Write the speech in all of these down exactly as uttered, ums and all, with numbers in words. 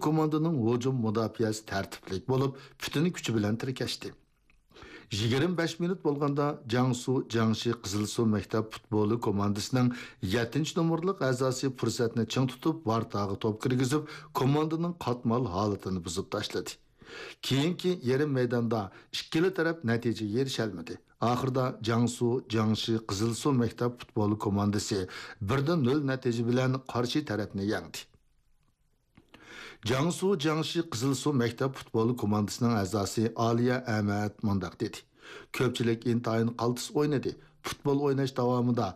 كوماندىنىڭ ھۇجۇم مۇداپىئەسى تەرتىپلىك بولۇپ، پۈتۈن كۈچى بىلەن تىركەشتى. يىگىرمە بەش مىنۇت بولغاندا، جياڭسۇ جياڭشى قىزىلسۇ مەكتەپ پۇتبولى كوماندىسىنىڭ يەتتىنچى نومۇرلۇق ئەزاسى پۇرسەتنى چىڭ تۇتۇپ، ۋارتاغا توپ كىرگۈزۈپ، كوماندىنىڭ قاتمال ھالىتىنى بۇزۇپ تاشلىدى. كېيىنكى يېرىم مەيداندا ئىككىلا تەرەپ نەتىجىگە ئېرىشەلمىدى. ئاخىرىدا جياڭسۇ جياڭشى قىزىلسۇ مەكتەپ پۇتبولى كوماندىسى بىر دە نۆل نەتىجە بىلەن قارشى تەرەپنى يەڭدى. جياڭسۇ جياڭشى قىزىلسۇ مەكتەپ پۇتبول كوماندىسىنىڭ ئەزاسى ئالىيە ئەمەت مۇنداق دېدى: كۆپچىلىك ئىنتايىن قالتىس ئوينىدى. پۇتبول ئويناش داۋامىدا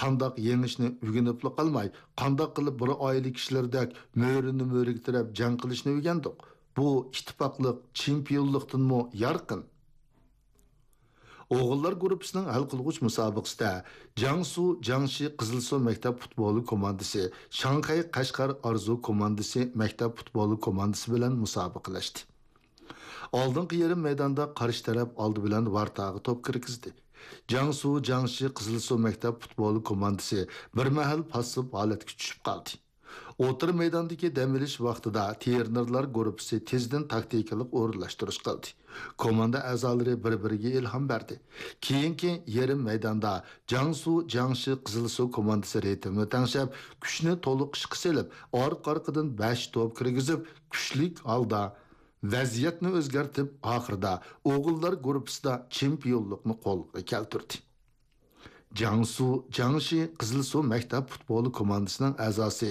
قانداق يېڭىشنى ئۆگىنىپلا قالماي، قانداق قىلىپ بىر ئائىلە كىشىلىرىدەك مۈرىنى مۈرىگە تىرەپ جەڭ قىلىشنى ئۆگەندۇق. بۇ ئىتتىپاقلىق چېمپىيونلۇقتىنمۇ يارقىن. ئوغۇللار گۇرۇپپىسىنىڭ ھەل قىلغۇچ مۇسابىقىسىدە جياڭسۇ جياڭشى قىزىلسۇ مەكتەپ پۇتبولى كوماندىسى شاڭخەي قەشقەر ئارزۇ كوماندىسى مەكتەپ پۇتبولى كوماندىسى بىلەن مۇسابىقىلەشتى. ئالدىنقى يېرىم مەيداندا قارشى تەرەپ ئالدى بىلەن ۋارتاغا توپ كىرگۈزدى. جياڭسۇ جياڭشى قىزىلسۇ مەكتەپ پۇتبولى كوماندىسى بىر مەھەل پاسسىپ ھالەتكە چۈشۈپ قالدى. ئوتتۇرا مەيداندىكى دەم ئېلىش ۋاقتىدا ترېنېرلار گۇرۇپپىسى تېزدىن تاكتىكىلىق ئورۇنلاشتۇرۇش قىلدى. كوماندا ئەزالىرى بىر-بىرىگە ئىلھام بەردى. كېيىنكى يېرىم مەيداندا جياڭسۇ جياڭشى قىزىلسۇ كوماندىسى رىتىمنى تەڭشەپ، كۈچنى تولۇق ئىشقا سېلىپ، ئارقا-ئارقىدىن بەش توپ كىرگۈزۈپ، كۈچلۈك ھالدا ۋەزىيەتنى ئۆزگەرتىپ، ئاخىرىدا ئوغۇللار گۇرۇپپىسىدا چېمپىيونلۇقنى قولغا كەلتۈردى. جياڭسۇ جياڭشى قىزىلسۇ مەكتەپ پۇتبولى كوماندىسىنىڭ ئەزاسى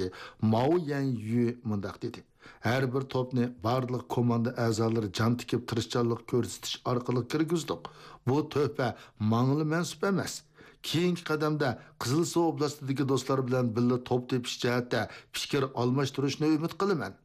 ماۋ يەنيۈ مۇنداق دېدى: ھەر بىر توپنى بارلىق كوماندا ئەزالىرى جان تىكىپ تىرىشچانلىق كۆرسىتىش ئارقىلىق كىرگۈزدۇق. بۇ تۆھپە ماڭىلا مەنسۇپ ئەمەس. كېيىنكى قەدەمدە قىزىلسۇ ئوبلاستىدىكى دوستلار بىلەن بىللە توپ تېپىش جەھەتتە پىكىر ئالماشتۇرۇشنى ئۈمىد قىلىمەن.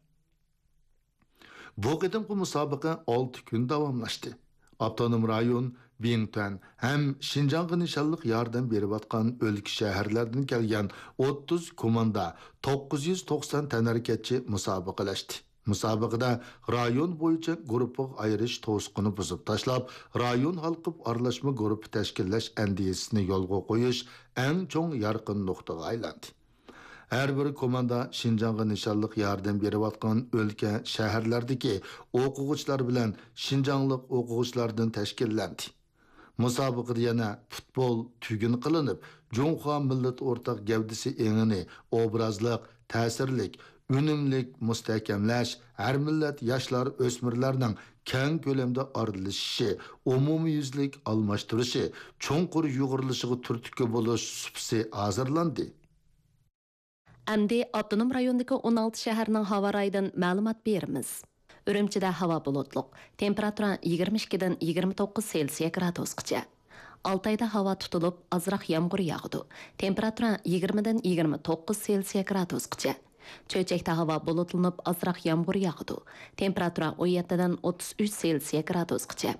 بۇ قېتىمقى مۇسابىقە ئالتە كۈن داۋاملاشتى. ئاپتونوم رايون، بىڭتۈەن ھەم شىنجاڭغا نىشانلىق ياردەم بېرىۋاتقان ئۆلكە، شەھەرلەردىن كەلگەن ئوتتۇز كوماندا، توققۇز يۈز توقسان تەنھەرىكەتچى مۇسابىقىلەشتى. مۇسابىقىدە رايون بويىچە گۇرۇپپىغا ئايرىش توسۇقىنى بۇزۇپ تاشلاپ، رايون ھالقىپ ئارىلاشما گۇرۇپپا تەشكىللەش ئەندىزىسىنى يولغا قويۇش ئەڭ چوڭ يارقىن نۇقتىغا ئايلاندى. ھەر بىر كوماندا شىنجاڭغا نىشانلىق ياردەم بېرىۋاتقان ئۆلكە، شەھەرلەردىكى ئوقۇغۇچىلار بىلەن شىنجاڭلىق ئوقۇغۇچىلاردىن تەشكىللەندى. مۇسابىقىدە يەنە پۇتبول تۈگۈن قىلىنىپ، جۇڭخۇا مىللىتى ئورتاق گەۋدىسى ئېڭىنى ئوبرازلىق، تەسىرلىك، ئۈنۈملۈك مۇستەھكەملەش، ھەر مىللەت ياشلار، ئۆسمۈرلەرنىڭ كەڭ كۆلەمدە ئارىلىشىشى، ئومۇميۈزلۈك ئالماشتۇرۇشى، چوڭقۇر يۇغۇرۇلۇشىغا تۈرتكە بولۇش سۇپىسى ھازىرلاندى. ئەمدى ئاپتونوم رايوندىكى ئون ئالتە شەھەرنىڭ ھاۋا رايىدىن مەلۇمات بېرىمىز. ئۈرۈمچىدە ھاۋا بۇلۇتلۇق، تېمپېراتۇرا يىگىرمە ئىككىدىن يىگىرمە توققۇز سېلسىيە گرادۇسقىچە. ئالتايدا ھاۋا تۇتۇلۇپ، ئازراق يامغۇر ياغىدۇ. تېمپېراتۇرا يىگىرمىدىن يىگىرمە توققۇز سېلسىيە گرادۇسقىچە. چۆچەكتە ھاۋا بۇلۇتلىنىپ، ئازراق يامغۇر ياغىدۇ. تېمپېراتۇرا ئون يەتتىدىن ئوتتۇز ئۈچ سېلسىيە گرادۇسقىچە.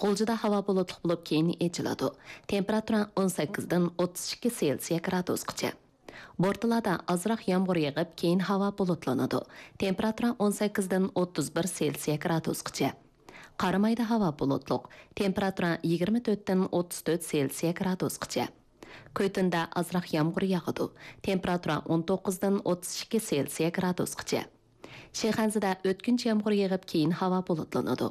غۇلجىدا ھاۋا بۇلۇتلۇق بولۇپ، كېيىن ئېچىلىدۇ. تېمپېراتۇرا ئون سەككىزدىن ئوتتۇز ئىككى سېلسىيە گرادۇسقىچە. بورتالادا ئازراق يامغۇر يېغىپ، كېيىن ھاۋا بۇلۇتلىنىدۇ. تېمپېراتۇرا ئون سەككىزدىن ئوتتۇز بىر سېلسىيە گرادۇسقىچە. قارامايدا ھاۋا بۇلۇتلۇق. تېمپېراتۇرا يىگىرمە تۆتتىن ئوتتۇز تۆت سېلسىيە گرادۇسقىچە. كۆتۈندە ئازراق يامغۇر ياغىدۇ. تېمپېراتۇرا ئون توققۇزدىن ئوتتۇز ئىككى سېلسىيە گرادۇسقىچە. شىخەنزىدە ئۆتكۈنچى يامغۇر يېغىپ، كېيىن ھاۋا بۇلۇتلىنىدۇ.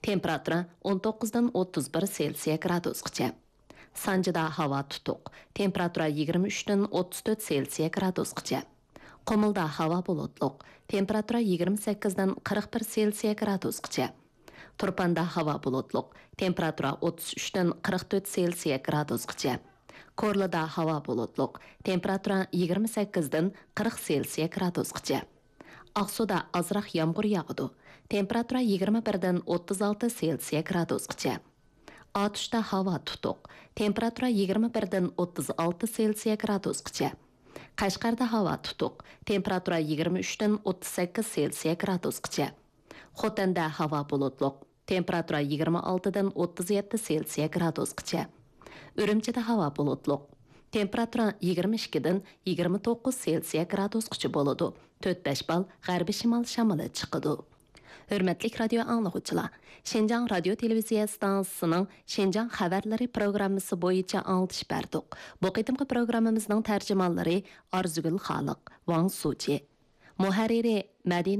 تېمپېراتۇرا ئون توققۇزدىن ئوتتۇز بىر سېلسىيە گرادۇسقىچە. سانجىدا ھاۋا تۇتۇق. تېمپېراتۇرا يىگىرمە ئۈچتىن ئوتتۇز تۆت سېلسىيە گرادۇسقىچە. قۇمۇلدا ھاۋا بۇلۇتلۇق. تېمپېراتۇرا يىگىرمە سەككىزدىن قىرىق بىر سېلسىيە گرادۇسقىچە. تۇرپاندا ھاۋا بۇلۇتلۇق. تېمپېراتۇرا ئوتتۇز ئۈچتىن قىرىق تۆت سېلسىيە گرادۇسقىچە. كورلىدا ھاۋا بۇلۇتلۇق. تېمپېراتۇرا يىگىرمە سەككىزدىن قىرىق سېلسىيە گرادۇسقىچە. ئاقسۇدا ئازراق يامغۇر ياغىدۇ. تېمپېراتۇرا يىگىرمە بىردىن ئوتتۇز ئالتە سېلسىيە گرادۇسقىچە. ئاتۇشتا ھاۋا تۇتۇق. تېمپېراتۇرا يىگىرمە بىردىن ئوتتۇز ئالتە سېلسىيە گرادۇسقىچە. قەشقەردە ھاۋا تۇتۇق. تېمپېراتۇرا يىگىرمە ئۈچتىن ئوتتۇز سەككىز سېلسىيە گرادۇسقىچە. خوتەندە ھاۋا بۇلۇتلۇق. تېمپېراتۇرا يىگىرمە ئالتىدىن ئوتتۇز يەتتە سېلسىيە گرادۇسقىچە. ئۈرۈمچىدە ھاۋا بۇلۇتلۇق. تېمپېراتۇرا يىگىرمە ئىككىدىن يىگىرمە توققۇز سېلسىيە گرادۇسقىچە بولىدۇ. تۆت بەش بال غەربىي شىمال شامىلى چىقىدۇ. ھۆرمەتلىك رادىيو ئاڭلىغۇچىلار، شىنجاڭ رادىيو تېلېۋىزىيە ئىستانسىسىنىڭ شىنجاڭ خەۋەرلىرى پروگراممىسى بويىچە ئاڭلىتىش بەردۇق. بۇ قېتىمقى پروگراممىمىزنىڭ تەرجىمانلىرى ئارزۇگۈل خالىق، ۋاڭ سۇچى. مۇھەررىرى مەدىنە